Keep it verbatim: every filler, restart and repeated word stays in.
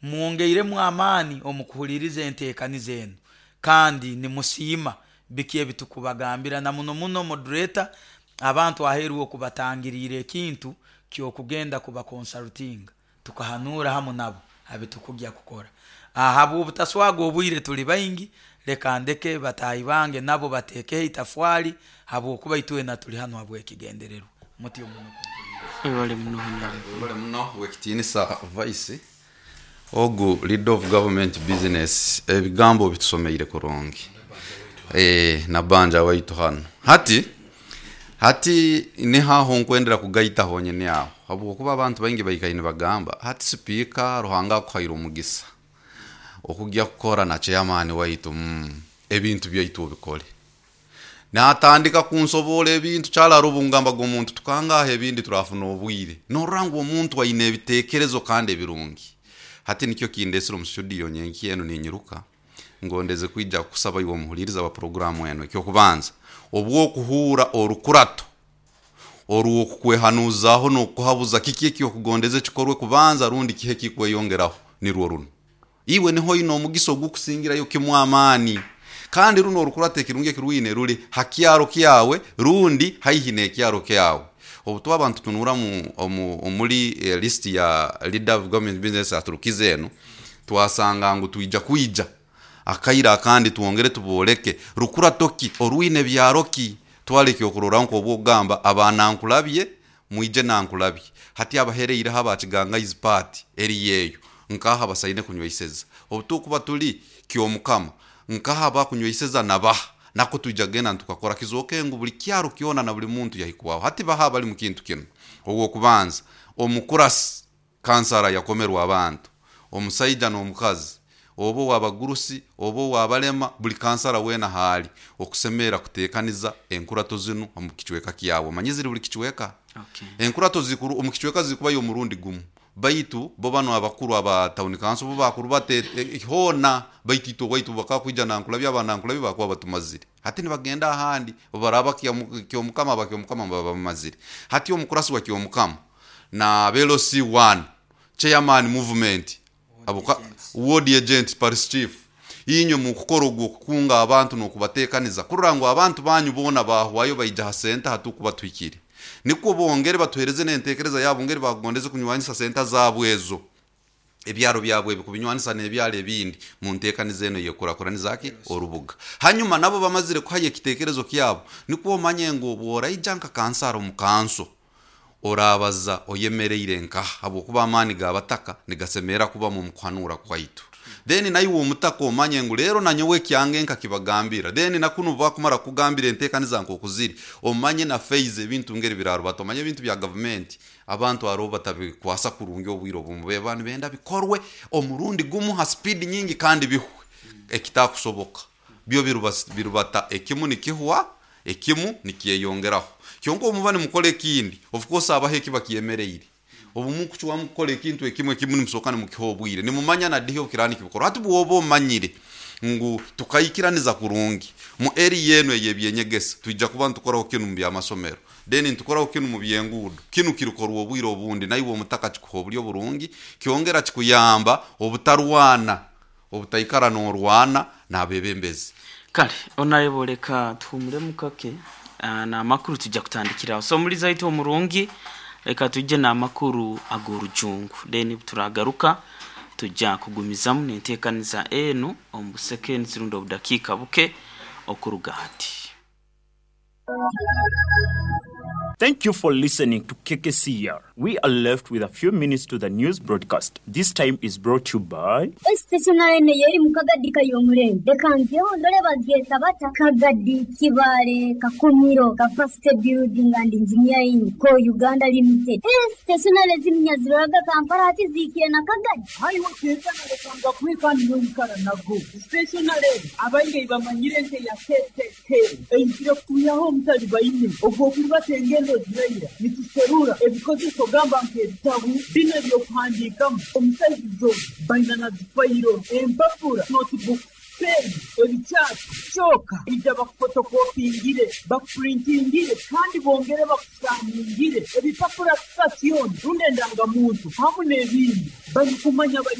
Mwongeiremu amaani omu kuhuliriza enteekaniza enu, kandi nimusiima biki ebitukubagambira, na muno muno moderator abantu aheeru okubatangiriire ekintu ky'okugenda kubakonsultinga tukahanuura hamu nabo abitukugya kukora. Ahabw'obutaswaga obwire tuli baingi, leka ndeke bataahi bange nabo bateekeho itafwali, habwokuba itwena tuli hanu habw'ekigendererwa. Mutyo muno kumpuliiriza. Webale muno, Honorable. Webale muno, wekitinisa vice ogu leader of government business, ebigambo bitusomeire kurungi. Eh, nabanja waitu hanu hati hati nihaho nkwendera kugaita honyini aho, habwokuba abantu baingi baikaire nibagamba hati sipiika Ruhanga akuhaire omugisa okujya kukora na chairman waitu, mm, ebintu byaitu obikole. Natandika kunsobola ebintu kyarara obungambaga omuntu tukangaha ebindi turafuna obwire norora ngu omuntu aine ebitekerezo kandi ebirungi. Hati nikyo kindesire omu studio nyenki enu ninyiruka ngondeze kwija kusaba iwe omuhuliriza wa programu enu. Ekyokubanza, obwokuhuura orukurato orwokukwehanuzaho n'okuhabuza kiki ekyokugondeza ekikorwe kubanza rundi kihe ekikweyongeraho, nirwo runo iwe niho oine omugisa ogukusingirayo kimu amaani. Kandi runo orukurato ekirungi ekirwine ruli ha kyaro kyawe rundi haihi n'ekyaro kyawe. Obu twaba nitutunura omuri list ya leader of government business aturukize enu, twasanga ngu twija kwija akaire akandi twongere tubooleke rukurato ki orwine byaro ki. Twara ekyokurorraho nk'obwokugamba abanankulabye mwije nankulabye, hati abahereireho aba Kigangaizi paati eriyo eyo nkaha basaine kunyweiseza. Obu tukuba turi Kyomukama nkaha abakunyweiseza nabaha, nako twija kugenda nitukakora kizooke ngu buli kyaro kyona na buli muntu yahikwaho. Hati baha abali mu kintu kinu? Ow'okubanza, omukurasi kansara yakomerwa abantu, omusaija n'omukazi, oba ow'abagurusi oba ow'abalema, buli kansara weena haali okusemerra kuteekaniza enkurato zinu omu kicweka kyawe. Omanyire ziri buli kicweka. Okay. Enkurato zikuru omu kicweka zikubayo omurundi gumu, baitu bo banu abakuru aba town council bo bakurubata hoona, baitu itwe owaitu bakakwija nankulabye aba nankulabye bakuba batumazire. Hati nibagenda ahandi obaraba Kyomukama aba Kyomukama baba bamazire. Hati omukurasi wa Kyomukama na L C one chairman movement abuka ward agent parish chief, inywe mukukora ogwo okukunga abantu n'okubateekaniza kurora ngu abantu banyu boona bahwayo baija ha senta hatukuba tuhikire, nikwo bongere batuhereze n'entekereza yabo ngeri bakugondeze kunywanyisa senta zaabo ezo ebyaro byabwe ebi kubinywanisa n'ebyaro ebindi mu nteekaniza eno eyekurakuraniza ki orubuga. Hanyuma nabo bamazire kuhayo ekitekerezo kyabo, nikwo omanye ngu obworaija nka kansara omu kanso orabaza oyemereire nkaha, habwokuba amaani g'abataka nigasemerra kubamu omu kuhanura kwaitu. Then naiwe omutaka omanye ngu leero nanyowe ekyange nkakibagambira. Then nakunu bakumara kukugambira enteekaniza nk'oku ziri, omanye na phase ebintu ngeri birarubata. Omanye ebintu bya gavumenti abantu aroho batabikwasa kurungi obwire obumu, beba nibenda bikorwe omurundi gumu ha speed nyingi kandi bihwe, ekitakusoboka. Byo birubata ekimu nikihwa ekimu nikyeyongeraho. Kyonka obu muba nimukora ekindi, of course habaho ekiba kyemereire. Obu mukucwamu kukora ekintu ekimu, ekimu nimusooka nimukiha obwire nimumanya na dihi obukiraaba nikibikorwa. Hati bwoba omanyire ngu tukaikiraniza kurungi mu area enu ey'ebyenyegesa, twija kuba nitukoraho kinu mu by'amasomero, then nitukoraho kinu mu by'enguudo, kinu kirikorwa obwire obundi, naiwe omutaka kikuha oburyo burungi, kyongera kikuyamba obutarwana, obutaikara n'orwana n'abeebembezi. Kale Honorable, leka tuhumuremu kake n'amakuru tujja kutandikiraho. So omulizi waitu omurungi, leka tujje n'amakuru ag'orujungu, then turagaruka tujja kugumizamu n'enteekaniza enu omu busekensi rundi obudakiika buke okuruga hati. Thank you for listening to K K C R. We are left with a few minutes to the news broadcast. This time is brought to you by. Esiteesonale eno y'eri mu Kagadi Kayomurembe. Leka mpyeho ndole bagyeta bata. Kagadi, Kibaale, Kakumiro, Capacity Building and Engineering Co Uganda Limited. Esiteesonale zino ziroraga Kampala hati ziikire na Kagadi. Haiwe kwekana lekanga kuhe kandi n'oikara nago. Stationary abaingi bamanyire nke ya K K K. Eizire kutuyaho omutali baine. Ogwo kurubata engendo ziraira. Nituserura ebikozeso gamba nk'ebitabu bino ebyokuhandiikamu omusaizi zo baina na zifayiro empapura notebook Peeni, ebikyapa kyokka ija bakufotokopingire, bakupurintingire kandi bongere bakusaningire ebipapura sitasioni rundi endangamuntu hamu n'ebindi. Balikumanya bali.